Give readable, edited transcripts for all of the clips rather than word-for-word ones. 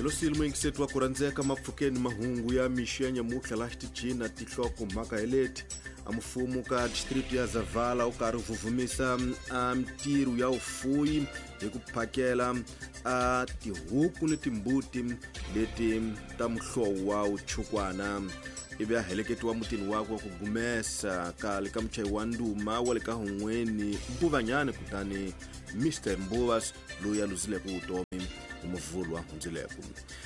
Losile muyingiseti wa ku rhandzeka mapfukeni mahungu ya mixo ya nyamutlha laha xitichini na tinhloko mhaka hi leti. A mfumo ka district ya Zavala wu karhi vuvumisa a mitirho ya vufuyi hi ku phakela a tihuku ni timbuti leti ta muhlovo wa wuchukwana, ivi a heleketiwa mutini wakwe wa ku gumesa kale ka muchayi wa nduma wa le ka Hun'weni Mbuvanyani, kutani Mr Mbuvas loyi a luzileke vutomi hi Muvhulu wa hundzileko.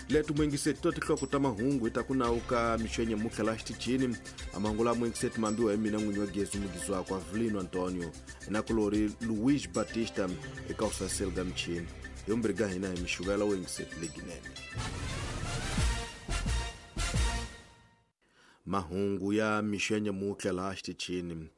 Leto muyingiseti to tinhloko ta mahungu hi ta ku nawu ka mixo ya nyamutlha laha xitichini. A mahungu laha muyingiseti mambiwa hi mina n'winyi wa gezi mugizi wakwe Avelino Antonio nakulori Luis Batista eka usaseli ga michini. Hi vumbirhi ga hina hi mixuvela wo yingiseti leginene. Mahungu ya mixo ya nyamutlha laha xitichini.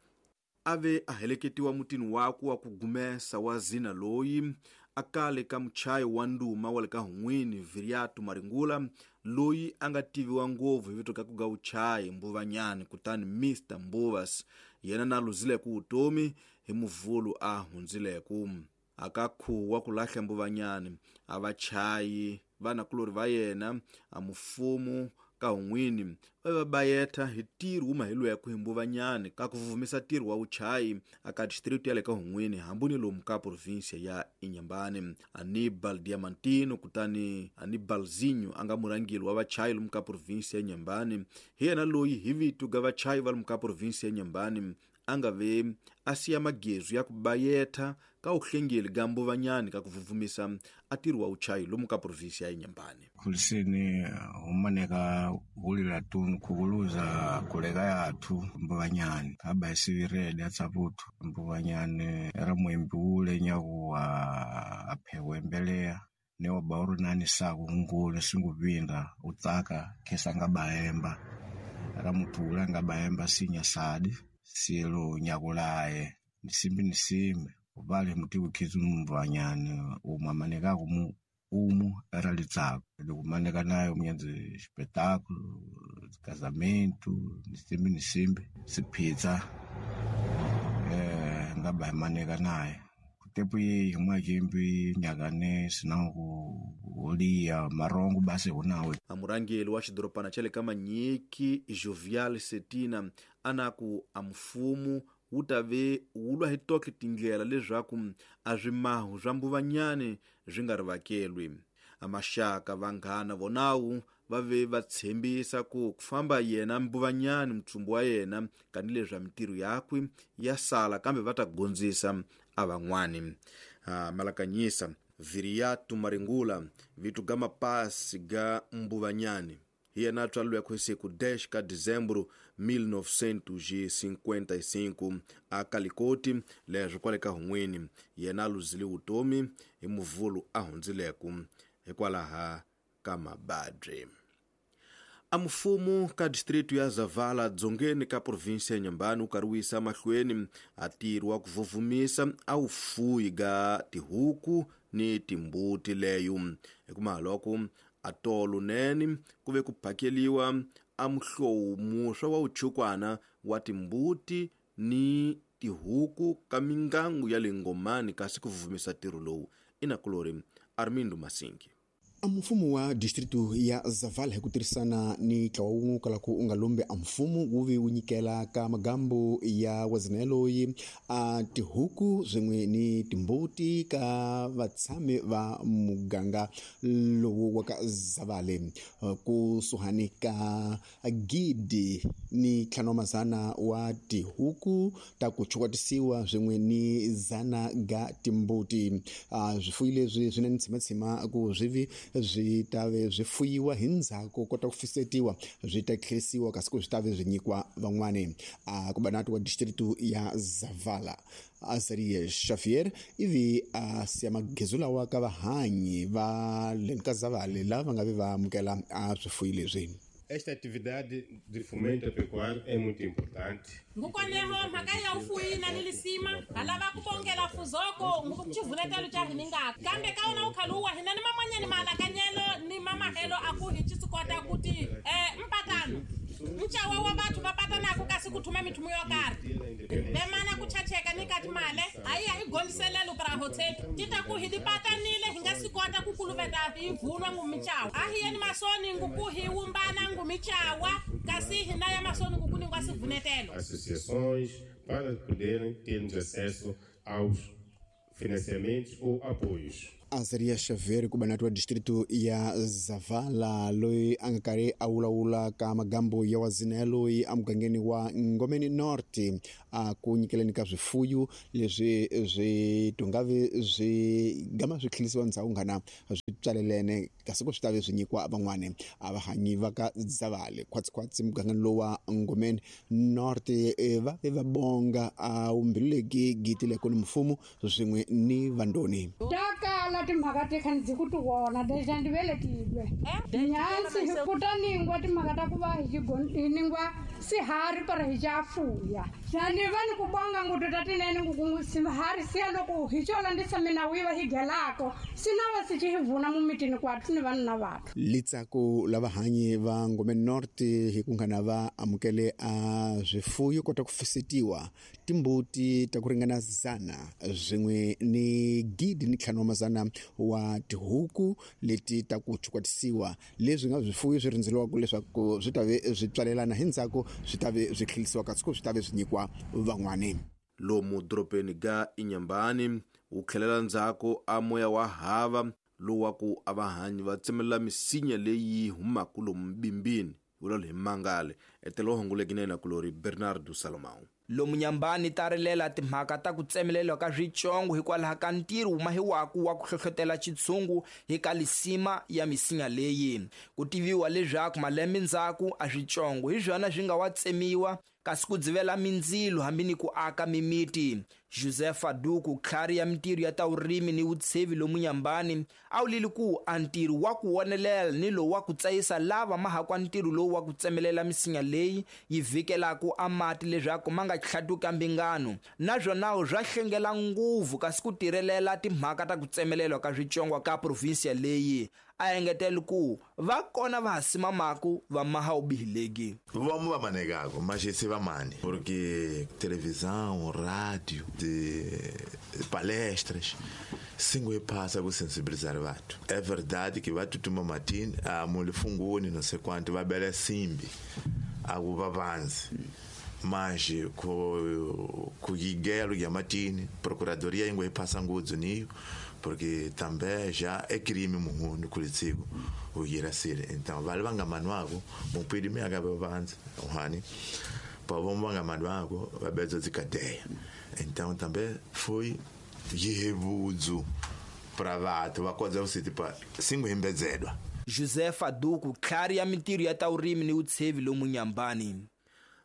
A ve a heleketiwa mutini wakwe wa ku gumesa wa zina loyi a kale ka muchayi wa nduma wa le ka Hun'wini Viriato Maringula, loyi a nga tiviwa ngopfu hi vito ka ku ga vuchayi Mbuvanyani, kutani Mr Mbuvas yena na luzileke vutomi hi Muvhulu a hundzileke. A ka khuwa ku lahla Mbuvanyani a vachayi vanakulori va yena a mufumu ka Hun'wini va va bayetha hi ntirho wu maheliweke hi Mbuvanyani ka ku vuvumisa ntirho wa vuchayi aka district ya le ka Hun'wini hambi ni lomu ka provinsia ya Inhambane. Anibal Diamantino kutani Anibalzinho a nga murhangeri wa vachayi lomu ka provinsia ya Inhambane, hi yena loyi hi vito ga vachayi va lomu ka provinsia ya Inhambane a nga ve a siya magezu ya ku bayetha ka uhlengeli ga Mbuvanyani ka ku vuvumisa a ntirho wa vuchayi lomu ka provinsia ya Inhambane. Khuliseni humaneka hulila tunu khukuluza kuleka yathu Mbuvanyani aba isivirede atsaputu Mbuvanyani era mwembi ule nyakuwa aphewa embeleya neoba uri nani saku ngulu singupinda utsaka khesa ngabaemba era muthu ule angabaemba sinya sadi silo nyakulaye nisimbi nisimbi upale muti ukhizi Mbuvanyani umwe amanekako mu umu era litsako likumaneka nayo munyanzi espetáculo casamento nisimbi nisimbi siphitsa ngabaemaneka naye kutepu yeyi mwachimbi nyakane sinangu uliya marongo basi hunawe. Amurangeli wa xidorobana xa le ka Manyiki Jovial Setina anaku a mfumo wu ta ve wu lwa hi toke tindlela leswaku a swimahu swa Mbuvanyani swi nga rivakelwi. A maxaka vanghana vonawu va ve va tshembisa ku famba yena Mbuvanyani mutsumbu wa yena kanileswi a mitirho yakwe ya sala kambe va ta gondzisa a van'wani. Malakanyisa Viriato Maringula vito ga mapasi ga Mbuvanyani hi yena a tswariweke hi siku 10 ka Dezembro 1955 a Kalikoti leswi kwale ka Hun'wini. Yena a luzile vutomi hi Muvhulu a hundzileke hikwalaha ka mababyi. A mfumo ka district ya Zavala dzongeni ka provinsia ya Inhambane wu karhi wu yisa mahlweni a ntirho wa ku vuvumisa a wufuyi ga tihuku ni timbuti leyo. Hikuva loko a tolo nene ku ve ku phakeliwa a muhlovo muswa wa wuchukwana wa timbuti ni tihuku ka mingangu ya le Ngomani, kasi ku vuvumisa ntirho lowu i nakulori Armindo Masingi. A mfumo wa distritu ya Zavala hi ku tirhisana ni ntlawa wun'we kwalaku u nga lombi a mfumo wu ve wu nyikela ka magambo ya wazina loyi a tihuku swin'we ni timbuti ka vatshami va muganga lowu wa ka Zavale kusuhani ka 1500 wa tihuku ta ku chukwatisiwa swin'we ni 100 ga timbuti. Swifuyi leswi swi na ntshimatshima ku swi vi swi ta ve swi fuyiwa hi ndzhaku kota ku fisetiwa swi ta tlherisiwa kasi ku swi ta ve swi nyikiwa van'wani. Kubanati wa district ya Zavala Azaria Xavier ivi a siya magezu lawa ka vahanyi va le ka Zavale lava va nga ve va amukela a swifuyi leswi. Esta atividade de fomento pecuário é muito importante. Ngukoneho mhaka ya ufuyi na ni lisima halava ku bongela fuzoko ngukuchivuletelo cha hiningaka kambe ka wona ukhaluwa hina ni mamanyani maalakanyelo ni mamahelo aku hi chisikota kuti mpatano nchawa wa batho va patanaka kasi ku thuma mithumo yo karhi vemana ku chacheka ni kati male hayi hi gondiselelo pra hotel ti ta ku hi di patanile hi nga si kota kota ku kuluveta hi vunwa ngumichawa a hi yeni masoni nguku hi wumbana ngumichawa kasi hina ya masoni nguku ningwa sivunetelo associações para poderem termos acesso aos financiamentos ou apoios. Azaria Xavier kubanati wa distrito ya Zavala loyi a nga karhi a vulavula ka magambo ya wazina loyi emugangeni wa Ngomeni North a ku nyikeleni ka swifuyu leswi swi tungavi swi gama swi tlhelisiwa ndzhaku nghana swi tswalelene kasi ku swi tavi swi nyikiwa van'wani a vahanyi va ka Zavale khwatsikhwatsi mugangeni lowa Ngomeni North va ve va bonga a wumbileki giti leko ni mfumo swin'we ni vandoni timhaka te kha ndzi ku ti vona deja ndi velekilwe nyansi ku ta ningwa timhaka ta ku va hi ningwa sihari para hi xa fuya ni va ni ku bonga nguto ta tinene nguku sihari siya loko hi xo landisa minawu yi va hi gelako si na va si xi hi vuna mumitini kwathu ni vanhu na vathu litsako la vahanyi va Ngomeni North hi ku nghana va amukele a swifuyo kota ku fisetiwa timbuti ta ku ringana 100 swin'we ni 1,500 wa tihuku leti ta ku chukwatisiwa leswi nga swifuyo swi rindzeliwaka leswaku swi ta ve swi tswalelana hi ndzhaku swi ta ve swi tlhelisiwa kasi ku swi ta ve swi nyikiwa van'wani lomu doropeni ga Inyambani wu tlhelela ndzhaku a moya wa hava lowu wa ku a vahanyi va tsemelela misinya leyi humaka lomu bimbini vulalo hi mangale etelo honguleki kulori Bernardo Salomão lomu Nyambani ta rilela timhaka ta ku tsemelelwa ka switsongo hikwalaho ka ntirho mahiwaku wa ku hlohlotela xitshungu hi ka lisima ya misinya leyi ku tiviwa leswaku malembe ndzhaku a switsongo hi swona swi nga wa tsemiwa kasi ku dzivela mindzilo hambi ni ku aka mimiti Josefa Duku tlhari ya mintirho ya ta vurimi ni vutshevi lomu Nyambani a wulile ku a ntirho wa ku wonelela ni lowu wa ku tsayisa lava mahakwa ntirho lowu wa ku tsemelela misinya leyi yi vhikelaka a mati leswaku ma nga tlhatuka mbingano naswona swa hlengela nguvu kasi ku tirhelela timhaka ta ku tsemelelwa ka switsongwa ka provinsia leyi a engetela ku va kona va ha simamaku va maha ubihilegi vamos va manegako mas esse va mane porque televisão rádio de palestras singo passa ku sensibilizar vanhu é verdade que va tutuma matini a mulifunguni não sei quanto va bela simbi akuva vanzi mas ku yigelo ya matini procuradoria ingwe passa ngudzo niyo porque também já é crime muhundu kulitsiko uyira sile então vale vangamanwako mupidi miaka babanzi uhani pavomba vangamanwako vabedzo dzikadeya então também foi yevudzu para vantu vakodza kusiti pa singuhimbedzedwa Josefa Duku tlhari ya mintirho ya ta vurimi ni vutshevi lomu Nyambani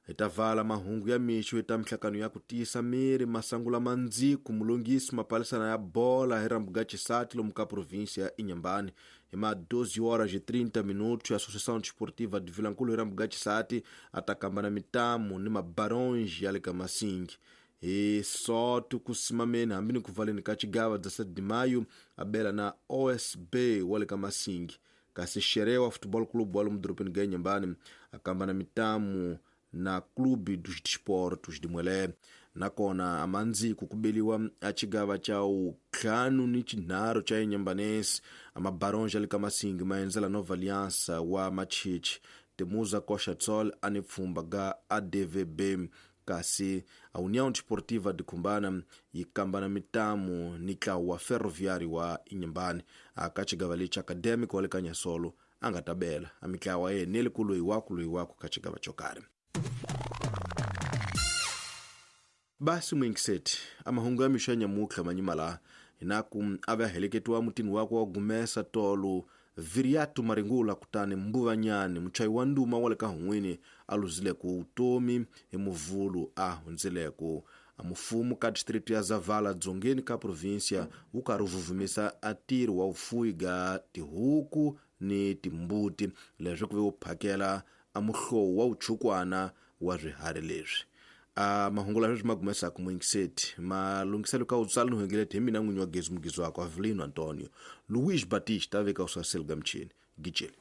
hi ta vala mahungu ya mixo hi ta mihlakano ya ku tiyisa miri masangu lama ndziku mulungisi mapalisana ya bola hi rambuga xisati lomu ka província ya Inhambane hi ma 12:30 Associação Desportiva de Vilankulu hi rambuga xisati a ta kamba na mitamu ni mabaronji ya le ka Masingi hi soto ku simameni hambi ni ku valeni ka xigava 17 de maio a bela na OSB wa le ka Masingi kasi Xerewa Futebol Clube wa lomu doropeni ga Inhambane a kamba na mitamu na Clube dos Desportos de Mwele nakona amandziku kubeliwa a xigava xa utlhanu ni xinharhu xa Inhambanense amabaronja le ka Masingi ma endzela Nova Aliança wa Machichi Temuza Coxa Tsol a ni pfhumba ga ADVB kasi a União Desportiva de Cumbana yi kamba na mitamu ni ntlawa wa Ferroviário wa Inhambane a ka xigava lexi Académico wa le ka Nyasolo a nga ta bela a mitlawa ya yena ku loyi waku ka xigava xo karhi. Basi mwingiseti amahungu ya mixo ya nyamutlha manyimala hinaku a va heleketiwa mutini wakwe wa gumesa tolo Viriatu Maringula kutani Mbuvanyani muchayi wa nduma wa le ka Hun'wini a luzileko vutomi hi muvhulu a hundzileko a mufumo ka district ya Zavala dzongeni ka província wu karhi wu vuvumisa a ntirho wa vufuwi ga tihuku ni timbuti leswi ku ve wu phakela a muhlovo wa vuchukwana wa swiharhi leswi. A mahungu lawa sweswi ma gumesaka muingiseti malunghiselo ka utsala ni huengeleti hi mina n'winyi wa gezi mugizi wakwe Avelino Antonio Luiz Batista a veka usaseli ga michini gijeli.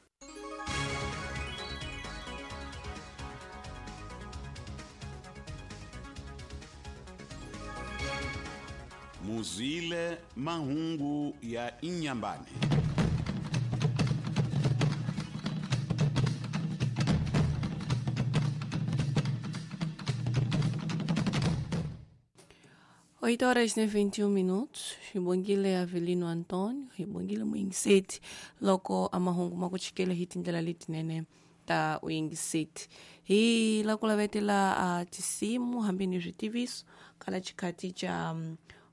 Muzile mahungu ya Inhambane. 8 horas e 21 minutos. Xibongile Avelino Antônio, xibongile muyingiseti loko a mahungu ma ku chikela hi tindlela letinene ta uyingiseti. Hi la ku lavetela a tisimu hambi ni switiviso kala xikhati xa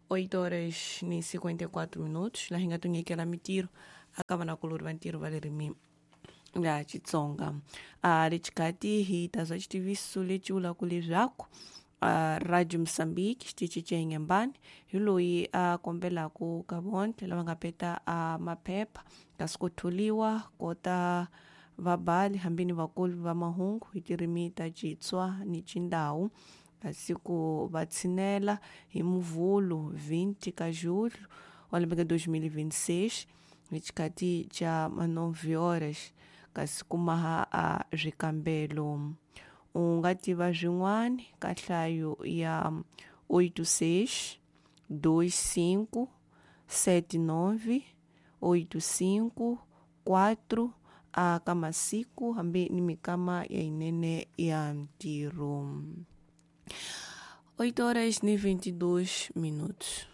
8 horas ni 54 minutos laha hi nga tunyikela mitirho aka vanakulori va ntirho va le rimini ya Xitsonga. A le xikhati hi ta zwa xitiviso lexi vulaka leswaku Radio Mozambique xitichi xa Inhambane hi loyi a kombelaka ka vonke lava nga peta a maphepha kasi ku tholiwa kota vabali hambi ni vakulu va mahungu hi tirimi ta Xitswa ni Xindau, kasi ku va tshinela hi Muvhulu 20 ka julho wa lembe ka 2026 hi xikhati xa 9 horas, kasi ku maha a swikambelo. U nga tiva swin'wana ka nhlayo ya 86 25 79 85 4 a ka masiku hambi ni mikama ya yinene ya ntirho. 8 horas ni 22 minutos.